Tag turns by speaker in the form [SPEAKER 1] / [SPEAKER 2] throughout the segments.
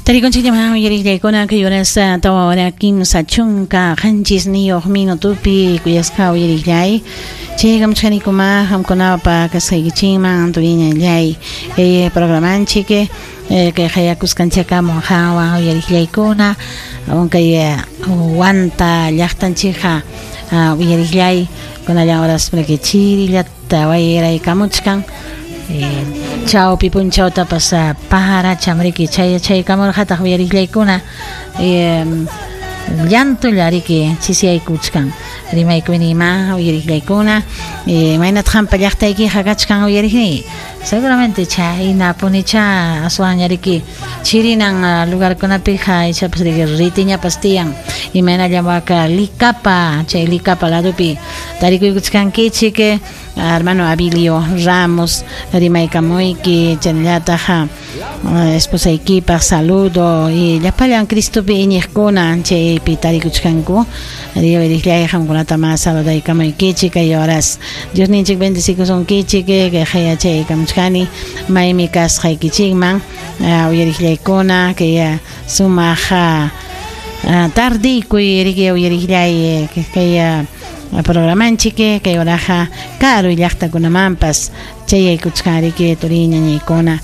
[SPEAKER 1] Tarikunchikllaman uyariqllaykuna kay horas 4 hora 37 minutopi kuyasqa uyariqllay chaykamuchkanikuma qamkunapa kasqaykichikman turiñallay kay programanchik kay qayakusqanchakamun qanwan uyariqllaykuna kay Huanta llaqtanchikqa uyariqllay kunallan horas chirillata wayraykamuchkan chawpi punchawtapas paracham riki chaykamurqataq uyariqllaykuna llantulla riki chisiyaykuchkan rimaykuyniyma uyariqllaykuna imaynataq qampa llaqtaykiqa kachkan uyariqniy seguramente chaynapunicha aswanña riki chirinan lugarkunapiqa ichapas riki ritiñapas tiyan imaynallam waka Licapa chay Licapa ladopi tarikuykuchkankichik hermano Abilio Ramos rimaykamuyki chaynallataq esposaykipaq saludo y llapallan Cristopi iñiqkuna chaypi tarikuchkanku uyariqllay qamkunata ma saludaykamuykichik kay horas Diosninchik bendecikusunkichik kay qayachaykamuchkani maymi kasqaykichikman uyariqllaykuna kay sumaq tardiykuy riki uyariqllay kay programanchik kay horaqa karu llaqtakunamanpas chayaykuchkan riki turiñañaykuna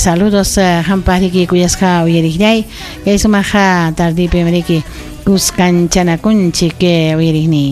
[SPEAKER 1] saludos qampaq riki kuyasqa uyariqllay kay sumaq tardipim riki kuskanchanakunchik uyariqniy.